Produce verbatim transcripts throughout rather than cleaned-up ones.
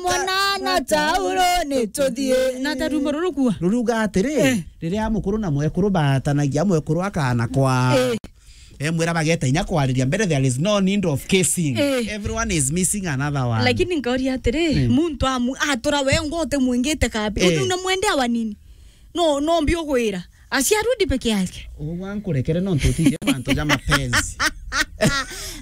Mwana na tauro ni tuthie. Na ta rumbo ruru kua. Ruruga atiri, Eh. riria mukuru na mwekuru batanagia, mwekuru akana kwa. Eh. Emwira bageta inya kwariria mbere, there is no need of kissing. Eh. Everyone is missing another one. Lakini nkauria atiri, Mm. muntu amu-, atura we ngo utimwingite kabi. Eh. Uti unamwendea wa nini? No, no mbi ugwira. Asiarudi peke yake. Ugwa nkurekere nontu utithie mantu ja mapenzi.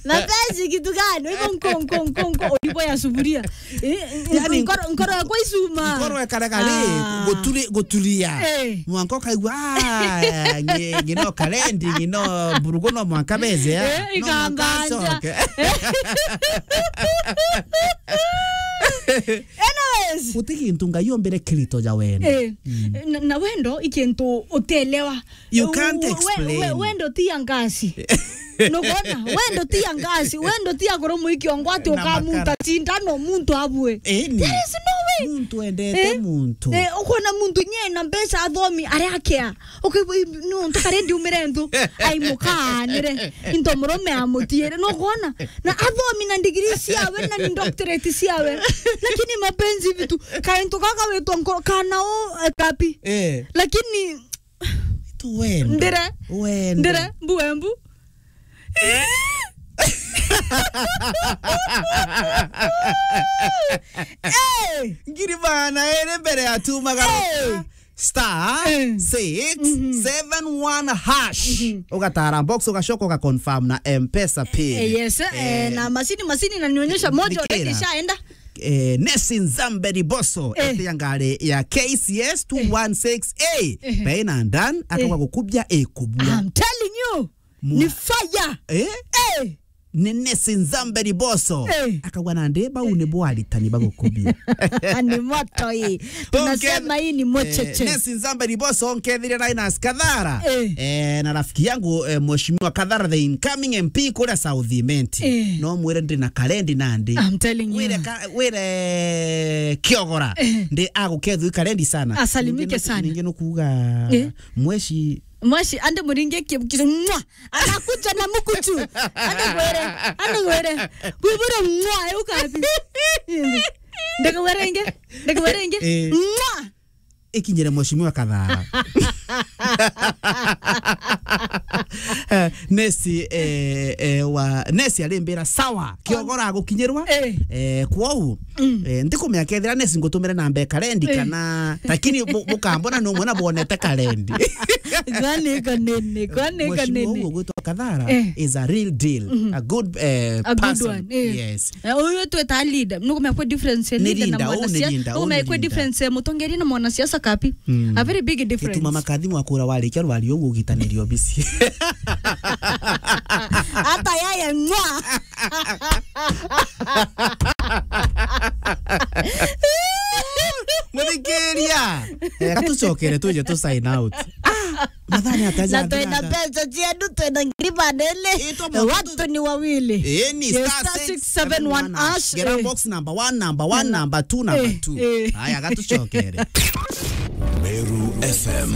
Mapenzi kitu gani? Hivyo nko, nko, nko, nko, ulipo ya sufuria. Eh, Yani, nkoro, nkoro yakwa icuma. Nkoro ekare gari, Ah. guturi-, guturia. Eh. Mwanka ukaigua, "Ah, ngi-, ngino karendi, ngino burugu no mwanka beze, ah." Eh, No mwanka ikambanja. acoke. Anyways. Guti gintu Ngai ombire kirito ja wendo. Eh, Mm. na, na wendo i kintu utelewa. You can't We-, we-, explain. we-, wendo ti ya ngasi. Nugona, wendo ti ya ngasi, wendo ti ya kurumu ikiongo ati Na ukamunta makara. Cindano muntu abue. Eni. There is no way. Muntu endete Eh? muntu. Eh, ukona muntu nye na mbeca athomi aria akea. Ukaigua i-, no, ntu karendi umire ntu. Ai mukaanire. Into murume amutiere. Nugona? Na athomi na degree ciawe na ni doctorate ciawe. Lakini mapenzi vitu. Kaintu kaka wetwa nko-, kana o, eh, kapi. Eh. Lakini Itu wendo. Ndire. Wendo. Ndire, mbu, embu. Eh! Ngiri magana eri mbere ya tu magana Eh! star Eh. six seven one hash. Mhm. Ugatara box, ugacoka ugaconfirm na M-Pesa pin. Eh, yes, eh, Eh, na masini, masini inanionyesha moja nikira. already ishaenda. Eh, Nesi Nzambe Riboso, Eh. ete ya ngari ya K C S two one six A. Eh. Pena ndan, akauga Eh. gukubia ikubua. I'm telling you, Mwa- ni fire. Eh? Eh. Ni Nesi Nzambe Riboso. Eh. Akauga nandi, bau ni bo aritani bagukubia. Ni moto hii. Tunasema hii ni mocheche. Eh, Nesi Nzambe Riboso, nkethire Linus Kathara. Eh. Eh, na rafiki yangu, eh, Mheshimiwa Kathara, the incoming M P kuria South Imenti. Eh. No mwire ndi na karendi nandi. I'm telling you. Wire ka-, wire Kiogora. Eh. Ndi agukethwi karendi sana. Asalimike Ningi nuku-, sana. Ningi nukuga Eh. mweshi. Mweshi, ande muringe ki-, ki-, mwa. Anakuja na mukuchu. Ande gwere, ande gwere. Bubura mwa, euka api. Ndege werenge, ndege werenge. Eh. Mwa. Ikinyire Mheshimiwa Kathara. Eh, Nesi, eh, eh, wa, Nesi arimbira, "Sawa, Kiogora agukinyirwa." Eh. Eh, kwou, Mm. eh, ndikumenya kethira Nesi ngutumire namba ya karendi Eh. kana, lakini bu-, bukambona ni umwe na bwonete karendi. Kwani kanene, kwani Mheshimiwa kanene. Hugo gwitwa Kathara Eh. is a real deal, Mhm. a good, eh, A good person. one, eh. Yes. Eh, uyu tweta leader. Nukumenya kwi difference ya Ni leader na leader, oh, ni mwanasiasa. Leader, oh, Nukumenya ni kwi leader. difference ya mutongeria na mwanasiasa kapi. Mm. A very big difference. Gituma makathi mwakura warikia rwario ugugitaniri obisi. Hata yeye mwa. Muthikiria. Eh, katucokere tuje tu sign out. Ah, mathani ataja Na twina athiaga. Pesa ciedu, twina ngiri banene. Ito mwa Watu ni wawili. Eh, ni Yes, star star six seven one hash, Gera eh. box number one, number one, Mm. number two, number Eh, two. eh. Haya, gatucokere. Meru F M.